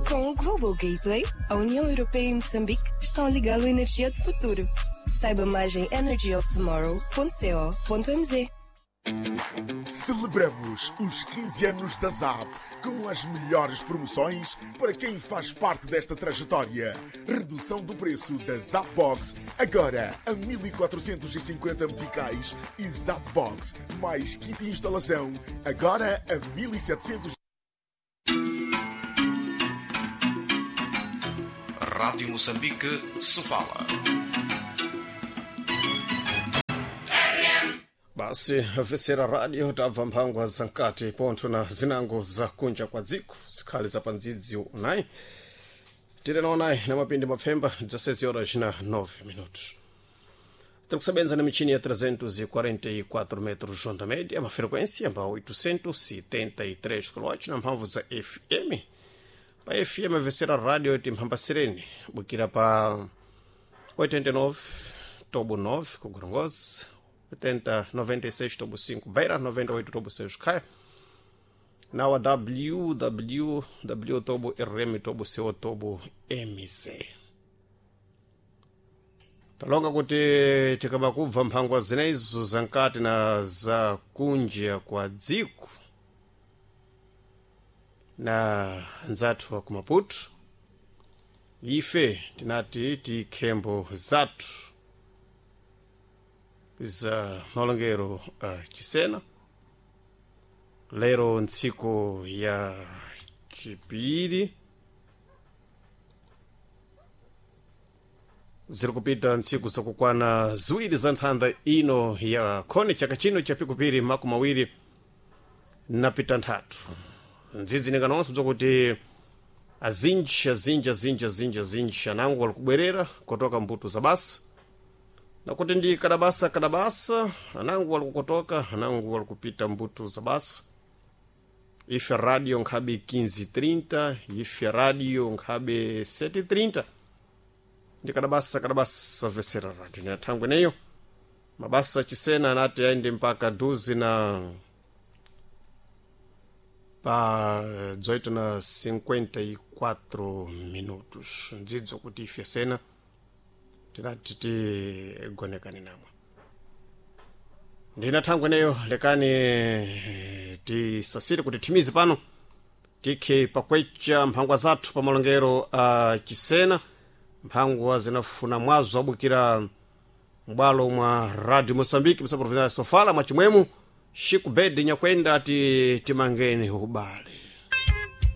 Com o Global Gateway, a União Europeia e Moçambique estão a ligá-lo à energia do futuro. Saiba mais em energyoftomorrow.co.mz. Celebramos os 15 anos da ZAP com as melhores promoções para quem faz parte desta trajetória. Redução do preço da Zap Box agora a 1450 meticais e Zap Box mais kit de instalação agora a 1700. Rádio Moçambique, Sofala. Basi afisera radio tabva mphangwa za mkati pontho na zinango za kunja kwa dziko zikhali za pandzidzi unayi tiri naonayi na mapindi mapfemba 16 horas na 9 minutos. Tiri kusebenza na michini ya 344 metros onda média, uma frequência pa 873 kHz na mphamvu za FM. Pa FM avesera radio timphambasireni bukira pa 89 tobo 9 ku Gorongosa, 80 96 tobo 5 Beira, 98 tobo 6 Caia, na wa www tobo rm tobo co tobo mz. Talonga kuti tikaba kubva mphangwa zinezo zankati na za kunja kwa dziko na anzathu wa ku Maputo, ife tinati tikhembo zathu za malongero a chisena lero ntsiku ya chipiri ziri kupita ntsiku zakukwana ziwiri za nthanda ino ya khoni chaka chino cha pikupiri makumi awiri napita nthatu ndzidzi ninganonso bzakuti azinji azinji azinji azinji azinji anango alikubwerera kotoka mbuto za basa nakuti ndi kadabasa kadabasa anango alikukotoka anango alikupita mbuto za basa. Ife radio nkhabe 15:30, ife radio nkhabe 7:30, ndi kadabasa kadabasa vesera radio ni athangwe neyo mabasa chisena anati aende mpaka duzi na pa 18 na 54 minutos. Ndzidzo kuti ife sena tinati tigonekane namwe ndina thangwe neyo. Lekani tisasire kuti thimizi pano tikhe pakwecha mphangwa zathu pa malongero a chisena, mphangwa zinafuna mwazo abukira m'bwalo mwa Radio Moçambique msa província ya Sofala mwachimwemu Chico Bed Nyakwenda ati timangeni ubale.